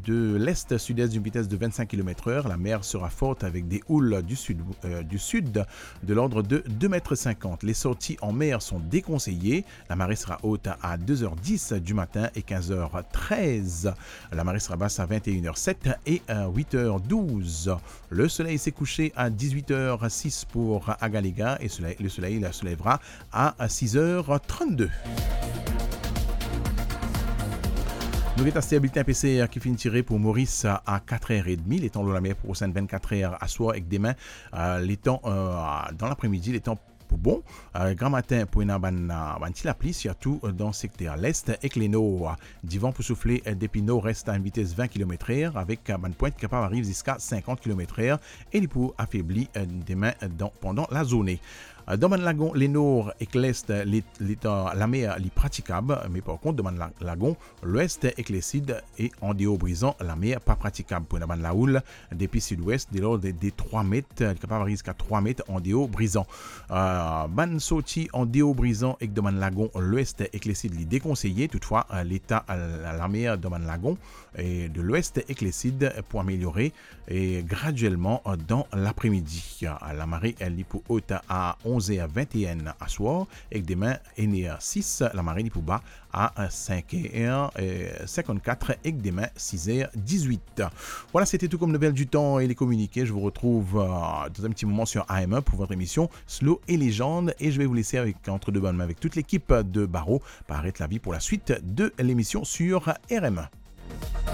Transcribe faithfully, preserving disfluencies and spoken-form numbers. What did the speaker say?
de l'est-sud-est d'une vitesse de vingt-cinq kilomètres heure. La mer sera forte avec des houles du sud, euh, du sud de l'ordre de deux mètres cinquante. Les sorties en mer sont déconseillées. La marée sera haute à deux heures dix du matin et quinze heures treize. La marée sera basse à vingt et une heures sept et à huit heures douze. Le soleil s'est couché à dix-huit heures six pour Agalega et soleil- le soleil se lèvera à six heures trente-deux. Nou get aster bilten PCR ki finn tire pou Moris a quatre heures et demie, letan lor lamer pou prosenn vingt-quatre heures aswar ek demin, euh, letan, euh, dan lapre-midi, letan pou bon. Euh, gramatin pou ena bann, euh, bann ti lapli, sirtou, euh, dan sekter lest ek lenor. Divan pou soufle, euh, depi nord-est a enn vites vingt kilomètres heure, avek, euh, bann pwint ki kapav ariv ziska sinkant kilomètres heure, e li pou afebli, euh, demin, euh, dan, pandan lazourne. Euh, dan bann lagon lenor ek lest, euh, le-, leta lamer li pratikab, me par kont dan bann la-, lagon lwes ek lesid e andeor Brizan, lamer pa pratikab. Pou ena bann laoul depi sidwes, delord de, de trwa met, li kapav ariv ziska trwa met andeor Brizan. Euh, bann sorti andeor Brizan ek dan bann lagon lwes ek lesid li dekonseye, toutfwa, euh, leta, euh, lamer dan bann lagon e de lwes ek lesid pou ameliore e gradielman, euh, dan lapre-midi. Euh, lamare, euh, li pou ot a onz er vinteen aswar, ek demin, ena sis, lamare li pou ba a, euh, sink er, euh, sinkant-kat, ek demin, sis er dizwit. Voilà, c'était Tout comme nouvelle du temps et les communiqués. Je vous retrouve, euh, dans un petit moment sur A M un pour votre émission Slow et Légende. Et je vais vous laisser avec, entre de bonnes mains avec toute l'équipe de Baro, Paraître la vie pour la suite de l'émission sur R M un.